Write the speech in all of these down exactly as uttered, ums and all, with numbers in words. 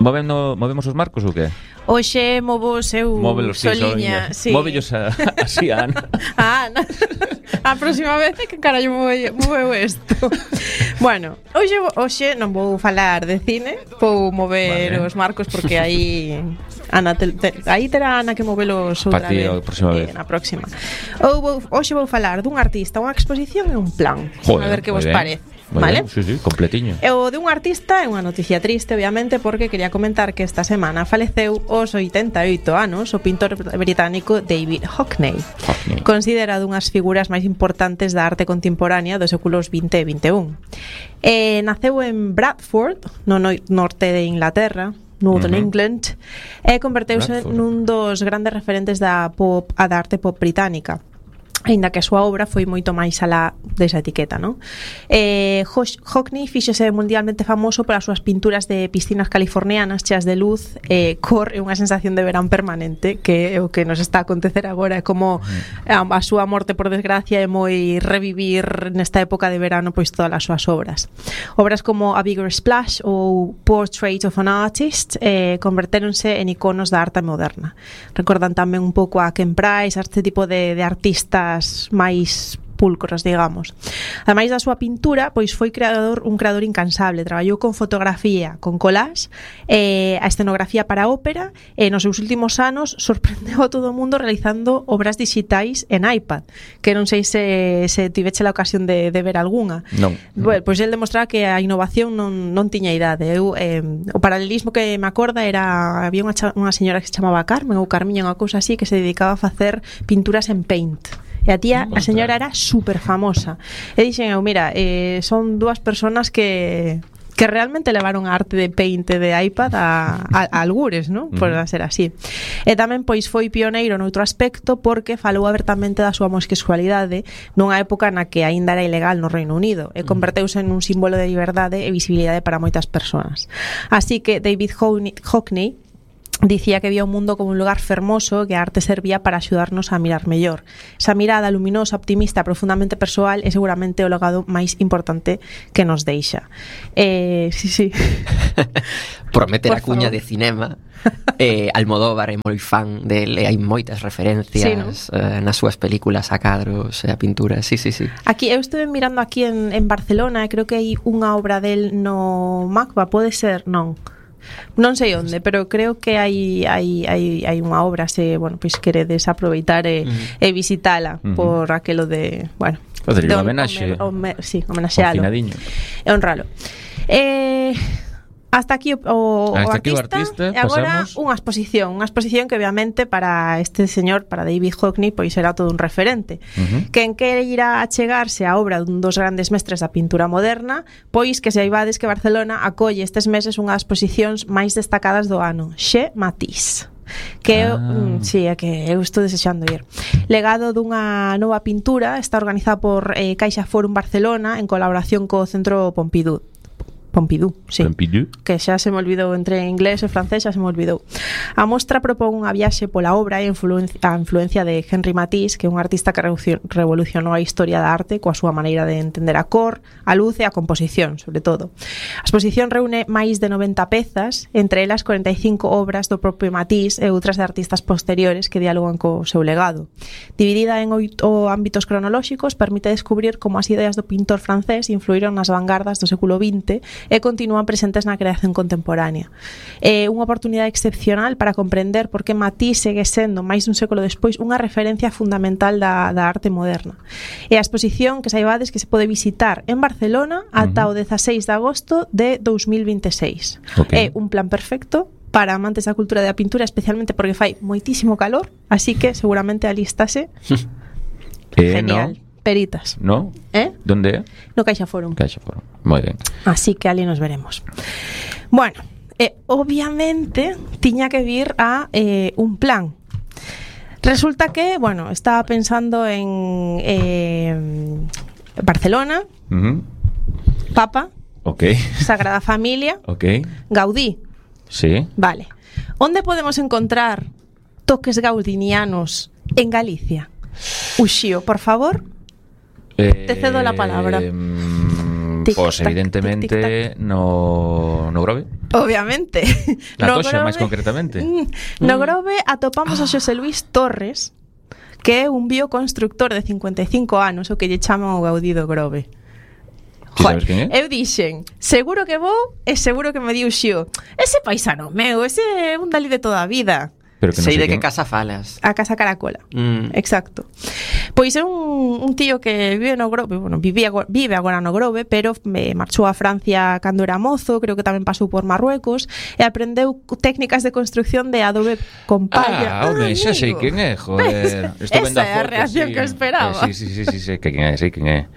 Movendo, movemos os marcos ou que? Oxe, movo eu Móvelos, soliña, sí, sí. Móvellos a, así a Ana. A Ana. A próxima vez que carallo moveu isto. Bueno, hoxe, hoxe non vou falar de cine, vou mover vale. os marcos porque aí Ana te, te, aí terá Ana que movelos outra vez. A próxima vez. Eh, na próxima. Ou vou, hoxe vou falar dun artista, unha exposición e un plan. Joder, a ver que vos ben. parece. Muy ¿Vale? bien, sí, sí, completiño. E o de un artista é unha noticia triste, obviamente, porque quería comentar que esta semana faleceu aos oitenta e oito anos o pintor británico David Hockney, Hockney. Considerado unhas figuras máis importantes da arte contemporánea dos séculos vinte e vinte e un. E naceu en Bradford, no norte de Inglaterra, Northern uh-huh. England, e converteuse Bradford. nun dos grandes referentes da pop, a da arte pop británica. Ainda que a súa obra foi moito máis alá desa etiqueta, non? Eh, Hockney fíxose mundialmente famoso polas súas pinturas de piscinas californianas cheas de luz, eh, cor e unha sensación de verán permanente, que é o que nos está a acontecer agora, é como a, a súa morte, por desgracia, é moi revivir nesta época de verano pois todas as súas obras. Obras como A Bigger Splash ou Portrait of an Artist eh, convertéronse en iconos da arte moderna. Recordan tamén un pouco a Ken Price, a este tipo de, de artistas máis pulcros, digamos. Ademais da súa pintura, pois foi creador un creador incansable, traballou con fotografía, con collage, eh, a escenografía para ópera, e nos seus últimos anos sorprendeu a todo o mundo realizando obras digitais en iPad, que non sei se, se tiveche a ocasión de, de ver algunha. Non. Bueno, pois el demostraba que a innovación non, non tiña idade. Eu, eh, o paralelismo que me acorda era, había unha, unha señora que se chamaba Carmen ou Carmiña, unha cousa así, que se dedicaba a facer pinturas en Paint. E a tía, a señora era super famosa. E dixen eu, mira, eh, son dúas personas que que realmente levaron a arte de Paint de iPad a, a, a algures, ¿no? Por uh-huh. ser así. E tamén pois foi pioneiro noutro aspecto porque falou abertamente da súa homosexualidade nunha época na que aínda era ilegal no Reino Unido e converteuse en un símbolo de liberdade e visibilidade para moitas persoas. Así que David Hockney dicía que vía o mundo como un lugar fermoso, que a arte servía para axudarnos a mirar mellor. Esa mirada luminosa, optimista, profundamente persoal é seguramente o legado máis importante que nos deixa. Eh, sí, sí. Por meter Por a cuña favor. de cinema, eh, Almodóvar é moi fan dele, hai moitas referencias sí, ¿no? eh, nas súas películas a cadros e a pintura, sí, sí, sí. Aquí, eu estuve mirando aquí en, en Barcelona e creo que hai unha obra del no MACBA, pode ser, non? Non sei onde, pero creo que hai hai hai hai unha obra, se, bueno, pois queredes aproveitar e, uh-huh. e visitala uh-huh. por aquelo de, bueno, facer unha homenaxe. Sí, homenaxealo. E honralo. Eh Hasta aquí o, o, Hasta o aquí artista, o artista e agora pasamos... unha exposición, unha exposición que obviamente para este señor, para David Hockney, pois será todo un referente. Uh-huh. Quen quere ir a chegarse a obra dun dos grandes mestres da pintura moderna, pois que se aibades que Barcelona acolle estes meses unha das exposicións máis destacadas do ano, Chez Matisse. Que ah. mm, sí, é que eu estou desexando ir. Legado dunha nova pintura, está organizada por eh, Caixa Forum Barcelona en colaboración co Centro Pompidou. Pompidou, sí. Pompidou. Que xa se me olvidou entre inglés e francés, xa se me olvidou. A mostra propón unha viaxe pola obra e influencia, a influencia de Henri Matisse, que é un artista que revolucionou a historia da arte coa súa maneira de entender a cor, a luz e a composición, sobre todo. A exposición reúne máis de noventa pezas, entre elas cuarenta e cinco obras do propio Matisse e outras de artistas posteriores que dialogan co seu legado. Dividida en oito ámbitos cronolóxicos, permite descubrir como as ideas do pintor francés influíron nas vanguardas do século vinte e continúan presentes na creación contemporánea. É unha oportunidade excepcional para comprender por que Matisse segue sendo, máis dun século despois, unha referencia fundamental da, da arte moderna. E a exposición, que saibades que se pode visitar en Barcelona ata uh-huh. o dezaseis de agosto de dous mil vinte e seis. Okay. É un plan perfecto para amantes da cultura da pintura, especialmente porque fai moitísimo calor, así que seguramente alístase. eh, Genial. No. Peritas. ¿No? ¿Eh? ¿Dónde? No Caixa Forum. Caixa Forum. Moi ben. Así que ali nos veremos. Bueno, eh, obviamente tiña que vir a eh, un plan. Resulta que, bueno, estaba pensando en eh, Barcelona, uh-huh. Papa, okay. Sagrada Familia, okay. Gaudí. Sí. Vale. ¿Dónde podemos encontrar toques gaudinianos en Galicia? Uxío, por favor. Eh, Te cedo la palabra. Eh, pues evidentemente no, no Grove. Obviamente. Na Toxa, máis concretamente. No Grove atopamos a Xosé Luis Torres, que é un bioconstructor de cincuenta e cinco anos, o que lle chaman o Gaudí do Grove. Ti sabes quen é? Eu dixen, seguro que vou e seguro que me diu xio. Ese paisano meu, ese é un dali de toda a vida. Pero que non sei sei de que quen. casa falas. A Casa Caracola. Mm. Exacto. Pois é un, un tío que vive no Grove, bueno, vivía, vive agora no Grove, pero me marchou a Francia cando era mozo, creo que tamén pasou por Marruecos e aprendeu técnicas de construcción de adobe con palla. Ah, home, xa sei quen é, joder. Estou vendo Esa é a foto, reacción sí. que esperaba. Eh, sí, sí, sí, sí, sí, que quen é, sei quen é.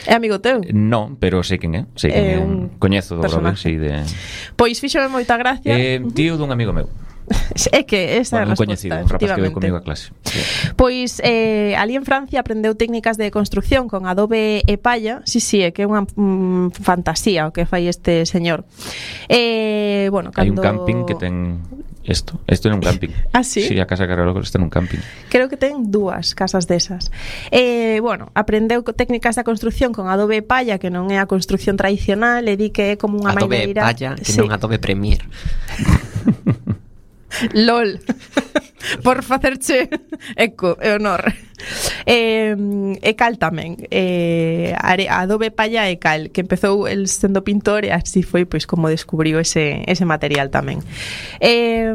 É amigo teu? Non, pero sei quen é, sei quen é. É un Coñezo do Grove, personaje. sí, de... Pois fíxome moita gracia. Eh, tío dun amigo meu. É que esa Bueno, un é a resposta, coñecido, un rapaz que efectivamente. ve comigo a clase. Sí. Pois eh, ali en Francia aprendeu técnicas de construcción con adobe e palla. Sí, sí, é que é unha mm, fantasía o que fai este señor. Eh, bueno, Hai un cando... camping que ten isto. Isto é un camping. Ah, sí? Sí, a Casa Caracola está nun camping. Creo que ten dúas casas desas. Eh, bueno, aprendeu co- técnicas da construcción con adobe e palla, que non é a construcción tradicional, e di que é como unha Adobe maneira... Palla, que Sí. non Adobe Premiere. LOL. Por facerche eco e honor. Eh, e cal tamén. Eh, are- Adobe Palla e cal, que empezou el sendo pintor e así foi pois como descubriu ese, ese material tamén. Eh,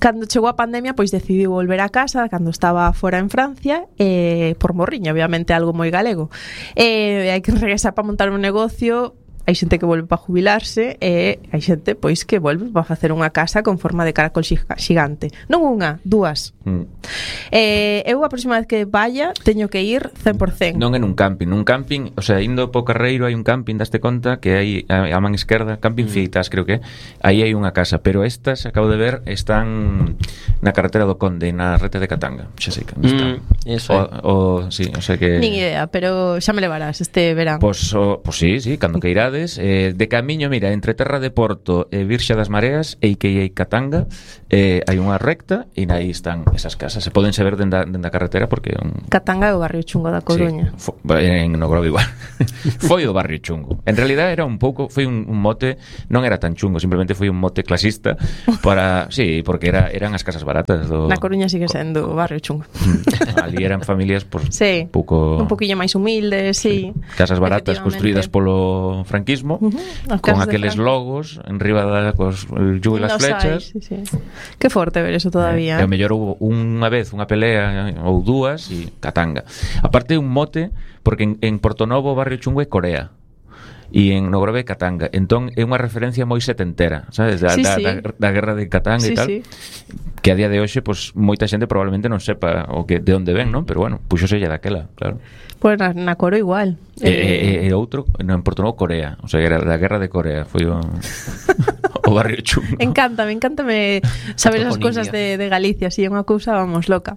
cando chegou a pandemia, pois decidiu volver a casa cando estaba fora en Francia, eh, por morriña, obviamente algo moi galego. Eh, hai que regresar para montar un negocio. Hai xente que volve para jubilarse e hai xente pois que volve para facer unha casa con forma de caracol xiga- xigante. Non unha, dúas. Mm. Eh, eu a próxima vez que vaya teño que ir cen por cen. Non é nun camping, nun camping, o sea, indo po Carreiro hai un camping, daste conta que hai a, a man esquerda, camping Mm. Fitas, creo que é. Aí hai unha casa, pero estas acabo de ver están na carretera do Conde, na rete de Catanga. Xa sei que onde están. Mm, eso o, é. o, sí, o sea que Nin idea, pero xa me levarás este verán. Pois, o, pois sí, sí, cando que irades eh, de camiño, mira, entre Terra de Porto e Virxa das Mareas e que hai Catanga eh, hai unha recta e aí están esas casas, se poden ver dende a, dende a carretera porque é un... Catanga é o barrio chungo da Coruña. Sí, fo, en no Grove igual. Foi o barrio chungo. En realidad era un pouco, foi un, un mote, non era tan chungo, simplemente foi un mote clasista para, sí, porque era eran as casas baratas do Na Coruña sigue sendo o barrio chungo. Ali eran familias por Sí, un pouco un poquillo máis humildes, sí. casas baratas Efectivamente. construídas polo franquismo, Ujú, as con casas de aqueles Franco. logos en riba da cos el yugo e las Nos flechas. hai, sí, sí. Que forte ver eso todavía. E ao mellor houve unha vez unha pelea ou dúas e Catanga. Aparte un mote porque en, en Portonovo o barrio chungo é Corea. E en no Grove Catanga. Entón é unha referencia moi setentera, sabes? Da, Sí, da, sí. da, da guerra de Catanga Sí, e tal. sí. Que a día de hoxe pues, moita xente probablemente non sepa o que de onde ven, non? Pero bueno, puxose ella daquela, claro. Pois na, na Coro igual. E, e, e outro, no, en Portonovo Corea. O sea, era da guerra de Corea. Foi o, o barrio chungo. Encántame, encántame saber esas Toponimia. cosas de, de Galicia, así é unha cousa, vamos, loca.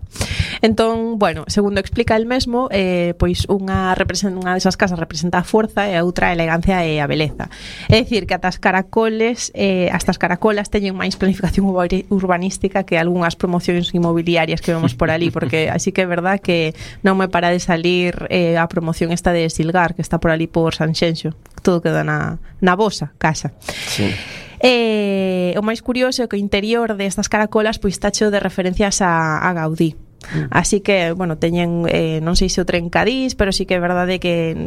Entón, bueno, segundo explica el mesmo, eh, pois unha representa unha desas casas representa a forza e a outra a elegancia e a beleza. É dicir, que ata as caracoles, eh, hasta as caracolas teñen máis planificación urbani- urbanística que algunhas promocións inmobiliarias que vemos por ali, porque así que é verdad que non me para de salir eh, a promoción esta de Silgar, que está por ali por Sanxenxo. Todo queda na, na vosa casa. Sí. Eh, o máis curioso é que o interior destas caracolas pois está cheo de referencias a, a Gaudí. Mm. Así que, bueno, teñen eh, non sei se o trencadís, pero sí que é verdade que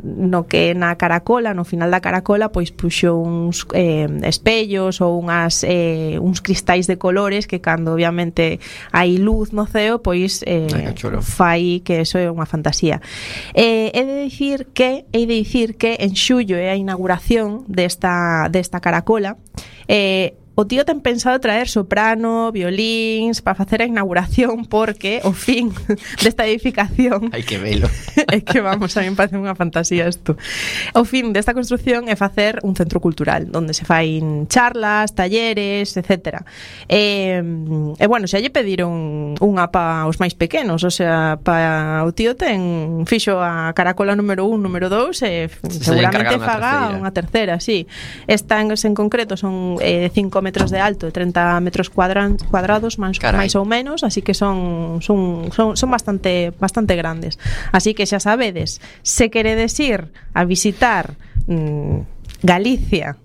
no que na caracola, no final da caracola, pois puxo uns eh, espellos ou unhas eh, uns cristais de colores que cando obviamente hai luz no ceo, pois eh, Ai, que chulo. fai que eso é unha fantasía. Eh, he de dicir que hei de dicir que en xullo é a inauguración desta desta caracola. Eh, o tío ten pensado traer soprano, violíns para facer a inauguración porque o fin desta edificación Hai que velo. é que vamos, a mí me parece unha fantasía isto. O fin desta construción é facer un centro cultural onde se fain charlas, talleres, etcétera. E, e bueno, xa lle pediron unha pa os máis pequenos, o sea, pa o tío ten fixo a caracola número un, número dous e Se seguramente lle encargaron a faga terceira. unha terceira, sí. Esta en, en concreto son eh, cinco metros de alto e treinta metros cuadran, cuadrados máis, Carai. máis ou menos, así que son son son, son bastante bastante grandes. Así que xa sabedes, se queredes ir a visitar mmm, Galicia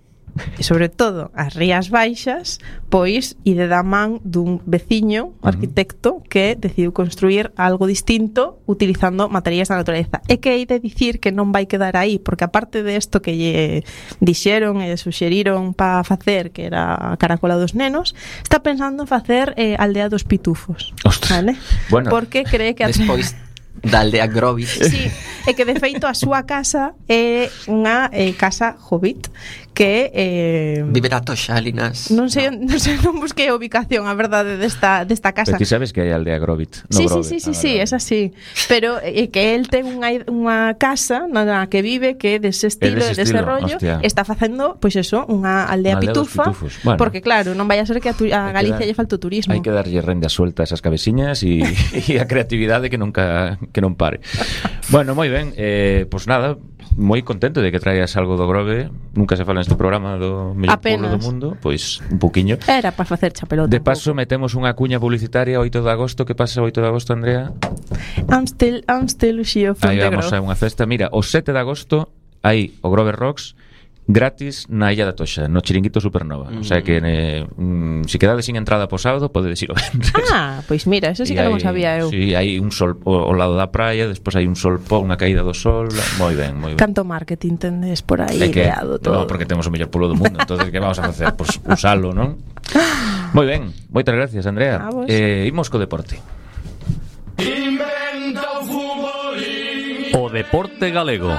e sobre todo as Rías Baixas, pois ide da man dun veciño, uh-huh. arquitecto, que decidiu construir algo distinto utilizando materiais da natureza. E que hai de dicir que non vai quedar aí, porque aparte de isto que lle dixeron e suxeriron para facer, que era a Caracola dos Nenos, está pensando en facer eh, Aldea dos Pitufos. Ostras. Vale? Bueno, porque cree que... Despois da aldea Grovit. Sí, é que de feito a súa casa é unha eh, casa hobbit que eh, vive na Toxa, Linas. Non sei, no. non sei, non busquei a ubicación, a verdade desta desta casa. Pero ti sabes que hai aldea Grovit, no sí, Grove. Sí, sí, sí, sí, es así. Pero é eh, que el ten unha unha casa na que vive que é dese estilo, de dese rollo, hostia. Está facendo pois pues eso, unha aldea, aldea pitufa, bueno, porque claro, non vai a ser que a, tu, a Galicia lle falte o turismo. Hai que darlle renda suelta a esas cabeciñas e a creatividade que nunca que non pare. Bueno, moi ben, eh, pois pues nada, moi contento de que traías algo do Grove. Nunca se fala neste programa do mellor pueblo do mundo, pois un poquiño. Era para facer chapelota. De paso metemos unha cuña publicitaria oito de agosto. Que pasa oito de agosto, Andrea? I'm still, I'm still Xio from Aí the vamos Grove. a unha festa. Mira, o sete de agosto hai o Grove Rocks gratis na Illa da Toxa, no Chiringuito Supernova. Mm. O sea que eh, mm, si quedades sin entrada po sábado, podedes ir o venres. Ah, pois mira, eso sí que non sabía eu. Sí, hai un sol ao, ao lado da praia, despois hai un sol po, unha caída do sol. Moi ben, moi ben. Canto marketing tendes por aí que, ideado todo. No, porque temos o mellor pueblo do mundo. Entonces, que vamos a facer? Pois pues, usalo, non? Moi ben, moitas gracias, Andrea. Eh, imos co deporte. O deporte galego.